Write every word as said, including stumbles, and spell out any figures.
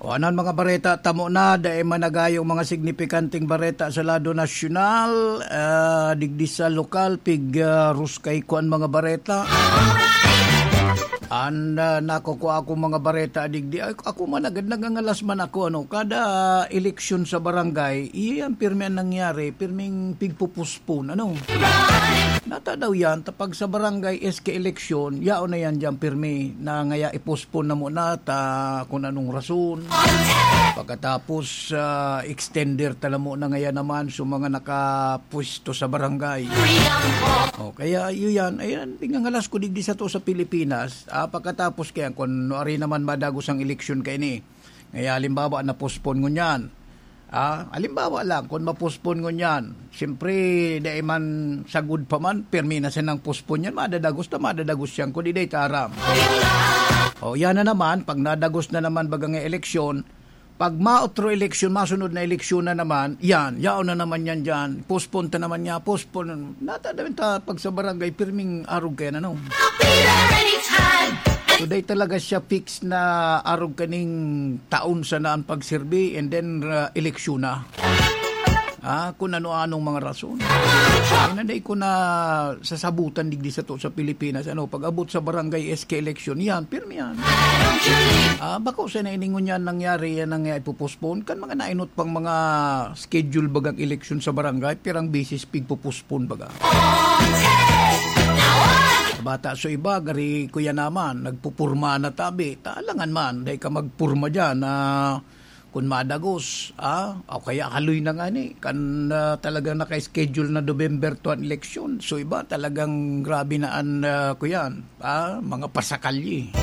Anan mga bareta tamo na, dai man nagayong mga signipikanteng bareta sa lado nasyonal, ah, digdi sa lokal, pig, ah, ruskay ko an mga bareta. An, ah, nakukua akong mga bareta digdi, ay, ako man agad nagangalas man ako, ano, kada eleksyon sa barangay, iyan pirmi an nangyari, pirming pigpupuspon, ano. Nata daw yan, ta pag sa barangay S K eleksyon, yaon na yan diyan pirmi, na ngaya i-postpone na muna ta kun anong rason. Pagkatapos, ah, extender ta na muna ngaya naman sa mga nakapwesto sa barangay. O, kaya yun yan. Ayan, pingangalas ko digdi sa to sa Pilipinas. Ah, pagkatapos kaya, kung nuari naman madagos ang eleksyon kaini. Ngaya, halimbawa, na-postpone ngunyan. Ah, halimbawa lang, kung ma-postpone ngunyan, siyempre, dai man sagod pa man, pirmi na sinang postpone yan, madadagos na madadagos yan, kundi dai ta aram. O, yan na naman, pag nadagos na naman baga nga eleksyon, pag maotro eleksyon, masunod na eleksyon na naman, yan, yaon na naman yan dyan, postpone ta naman niya, postpone, nata daw ta pag sa barangay, pirming arog kaya na, no? Today talaga siya fix na arog kaning taon sana ang pagserbi and then, ah, eleksyon na. Ah, kung ano-anong mga rason. Ay, nanday ko na sasabutan digdi sa to sa Pilipinas. Ano, pag-abot sa barangay S K election, yan, pirmi yan. Ah, bako sa na iningon yan nangyari, yan ang, ah, ipopostpone. Kan mga nainot pang mga schedule bagang eleksyon sa barangay, pirang beses pigpopostpone baga. Bata so iba, gari kuya naman, nagpupurma na tabi. Talangan man, dai ka magpurma dyan na kun madagos, ah, o kaya haloy na nga ni, kan, ah, talagang naka-schedule na November two an eleksyon. So iba, talagang grabe na an, ah, kuyan, ah, mga pasakalye.